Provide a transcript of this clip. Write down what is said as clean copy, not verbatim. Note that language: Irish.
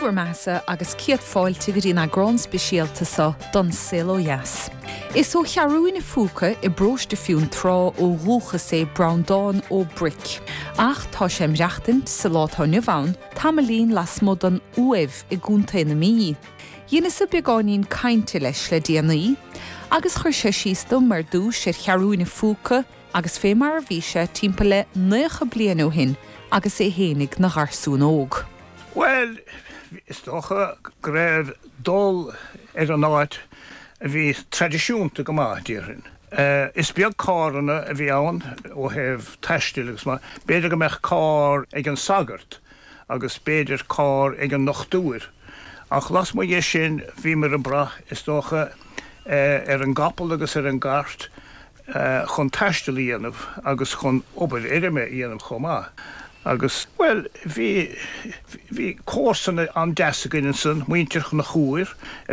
bhur mbeathasa agus céad fáilte go dtí an eagrán speisialta seo don Saol Ó Dheas. Is ó Cheathrúin a' Phúca i bparóiste Fionntrá ó dhúchas é Breandán Ó Bric. Ach tá sé ag maireachtaint sa lá atá inniu ann, tamaillín lasmuigh den Uaimh i gContae na Mí. Dheineas-sa beagáinín cainte leis le déanaí agus chuir sé síos dom ar dtús ar Cheathrúin a' Phúca agus fé mar a bhí sé timpeall le naocha bliain ó shin agus é fhéinig 'na gharsún óg. Bhuel, is dócha go raibh dul ar an áit a bhí traidisiúnta go maith, déarfainn. Is beag carranna a bhí ann ó thaobh taistil agus mar, b'fhéidir go mbeadh carr ag an sagart agus b'fhéidir carr ag an ndochtúir ach lasmuigh dhe sin bhíomar ag brath, is dócha, ar an gcapall agus ar an gcairt chun taisteal a dhéanamh agus chun obair fheirme a dhéanamh chomh maith. Agus, bhuel, bhí, bhí comharsana an-deas againn ansan, muintir Chonchúir.